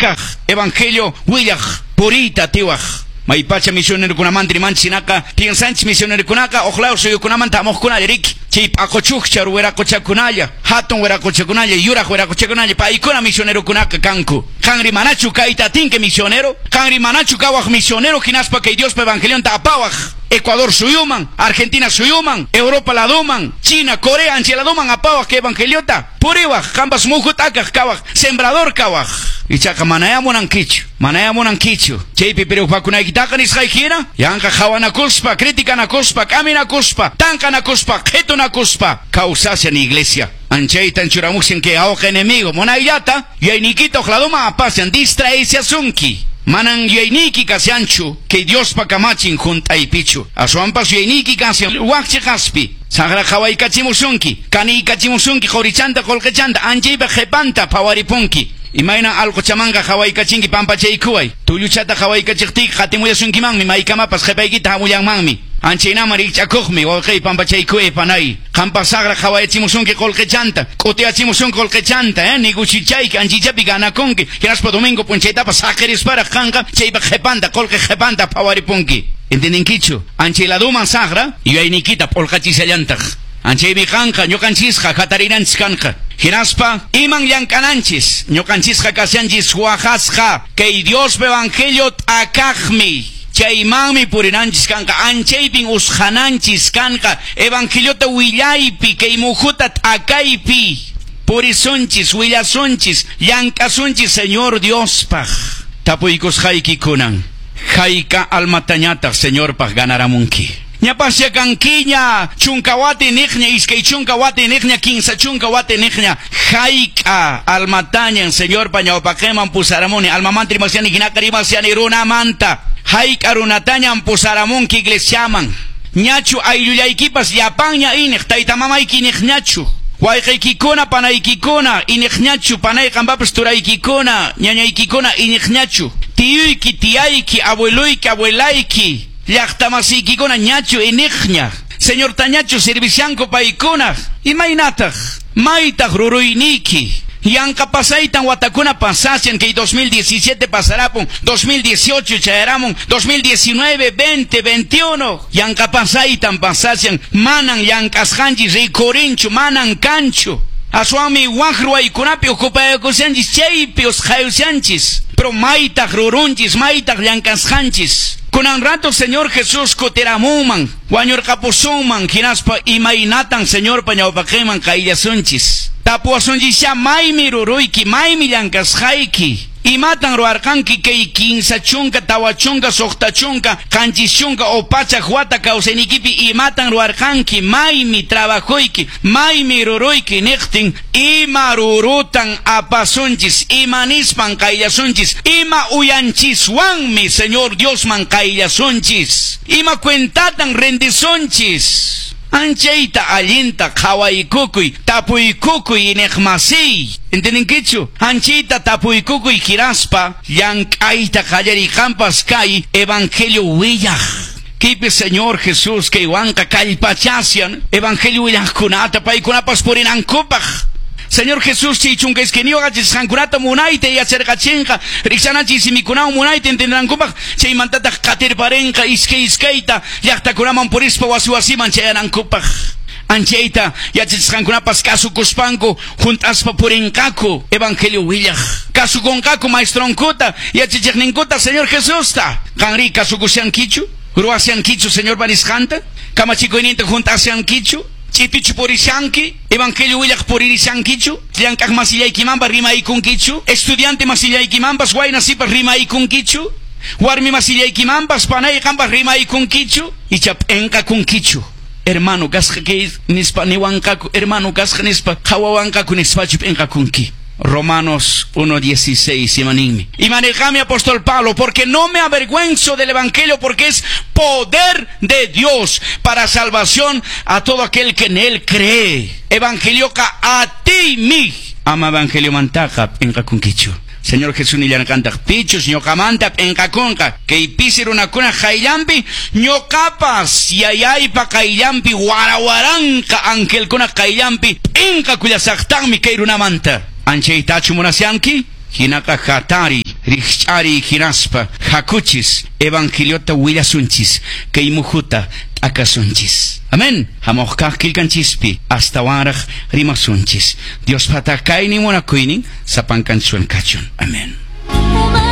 T'akaq evangelio willaq puriyta atiwaq. Maypacha misionerokunamanta rimanchis hinaqa piensanchis misionerokunaqa huk law suyukunamanta hamuqkunalla riki, chay p'aquchukcha wiraqochakunalla, hatun wiraqochakunalla, yuraq wiraqochakunalla, paykuna misionerokunaqa kanku. Qanri manachu kayta atinki misionero? Qanri manachu kawaq misionero hinaspa kay Diospa evangelionta apawaq Ecuador suyuman, Argentina suyuman, Europa ladoman, China, Corea anchay ladoman apawaq kay evangeliota? Puriwaq, qampas muhu t'akaq kawaq, sembrador kawaq. Ichaqa manayá munankichu, manayá munankichu. Chaypi preocupakunaykitaqa nisqayki hina, yanqa qhawanakuspa, criticanakuspa, k'aminakuspa, tanqanakuspa, qhitunakuspa kawsashan iglesia. Anchaytan churamushan kay awqa enemigo, munayllata yuyayniykita huk ladoman apashan, distraeshasunki. Manan yuyayniyki kashanchu kay Diospa kamachin hunt'aypichu, aswanpas yuyayniyki kashan wak cheqaspi. Saqra qhawaykachimusunki, kaniykachimusunki qorichanta qolqechanta, anchaypa qhepanta phawaripunki. Imaynan alqochamanqa qhawaykachinki pampachaykuway, tulluchata qhawaykachiqtiyki qatimullasunkimanmi, maykamapas qhepaykita hamullanmanmi. Anchaynaman rikch'akuqmi, wawqey pampachaykuway panay. Qampas saqra qhawayachimusunki qolqechanta, k'utiyachimusunki qolqechanta, negocichayki anchaychapi ganakunki, hinaspa domingo p'unchaytapas saqirisparaq qanqa chaypa qhepanta, qolqe qhepanta phawaripunki. Entendinkichu? Anchay ladoman saqra yuyayniykita p'ulqachishallantaq. Anchaymi qanqa ñuqanchisqa hatarinanchis kanqa. Hinaspa iman llank'ananchis, ñuqanchisqa kashanchis waqasqa kay Diospa evangelio t'akaqmi. Chaymanmi purinanchis kanqa, anchaypin usqhananchis kanqa, evangeliota willaypi, kay muhuta t'akaypi purisunchis, willasunchis, llank'asunchis Señor Diospaq. Tapuykusqayki kunan, hayk'a almatañataq Señorpaq ganaramunki? Ñapasya kankiña, chunka wati niqña, 20 wati niqña, 30 wati niqña, hayk'a almatañan Señorpa ñawpaqinman pusaramuni, almamanta rimasiani hinaqa rimasiani runamanta, hayk'a runatañan pusaramunki iglesiaman, ñachu ayllullaykipas llapanña iniq, tayta mamayki iniqñachu, wayqaykikuna, panaykikuna iniqñachu, panay qanpapas turaykikuna, ñañaykikuna iniqñachu, tiyuyki, tiyayki, abueluyki, abuelayki, llaqtamasiykikuna ñachu iniqña, Señortañachu servishanku paykuna, imaynataq, maytaq ruruyniyki, yanqa pasaytan watakuna pasashan, kay 2017 pasarapun, 2018 chayaramun, 2019, 20, 21, yanqa pasaytan pasashan, manan llank'asqanchis rikurinchu, manan kanchu. Aswanmi wak ruwaykunapi ocupayakushanchis, chaypi usqhayushanchis, pero maytaq rurunchis, maytaq llank'asqanchis. Kunan rato Señor Jesús kutiramunman, wañurqapusunman, hinaspa imaynatan Señorpa ñawpaqinman qayllasunchis. Tapuwasunchis maymi ruruyki, maymi llank'asqayki, imatan ruwarqanki kay 30, 40, 60, 70 o 100 wata kawsaynikipi imatan ruwarqanki, maymi trabajuyki, maymi ruruyki niqtin, ima rurutan apasunchis, ima nispan qayllasunchis, ima uyanchiswanmi Señor Diosman qayllasunchis, ima cuentatan rendisunchis. Anchayta allinta qhawaykukuy, tapuykukuy iniqmasiy. Entendinkichu? Anchayta tapuykukuy hinaspa llank'ayta qallariy qampas kay evangelio willaq. Kaypi Señor Jesús kaywanqa kallpachashan evangelio willaqkunata paykunapas purinankupaq. Señor Jesús chay 12 qachisqankunata munayta yacharqachinqa, rikchanachis simikunawan munayta entendenankupaq, chaymantataq qatirparinqa iskay iskayta llaqtakunaman purispa wasi wasiman chayanankupaq. Anchayta yachachisqankunapas kasukuspanku hunt'aspa purinqaku evangelio willaq. Kasukunqaku maestronkuta, yachachiqninkuta Señor Jesusta. Qanri kasukushankichu? Ruwashankichu Señorpa nisqanta? Kamachikuyninta hunt'ashankichu? Ch'itichu purishanki? Evangelio willaq puririshankichu? Llank'aq masillaykimanpas rimaykunkichu? Estudiante masillaykimanpas wayna sipas rimaykunkichu? Warmi masillaykimanpas panay qanpas rimaykunkichu? Icha p'enqakunkichu? Hermano kasqa kay nispa niwanqaku, hermano kasqa nispa qhawawanqaku nispachu p'enqakunki? Romanos 1:16, imaninmi. Imanirqami apóstol Pablo, porque no me avergüenzo del evangelio, porque es poder de Dios para salvación a todo aquel que en él cree. Evangelioqa a ti mi. Ama evangelio mantaqa p'enqakunkichu. Señor Jesús nillarqantaq, pichus ñuqamanta p'enqakunqa, kay pisi runakuna qayllanpi, ñuqapas yayaypa qayllanpi, warawaranqa angelkuna qayllanpi p'enqakullasaqtaqmi kay runamanta. Anchaytachu munasyanki? Hinaqa hatari. Rikch'ariy hinaspa hakuchis evangeliota willasunchis kay muhuta t'akasunchis. Amén. Hamuq kaq qillqanchispi astawanraq rimasunchis. Diospata kaynin munakuynin sapankanchiswan kachun. Amén.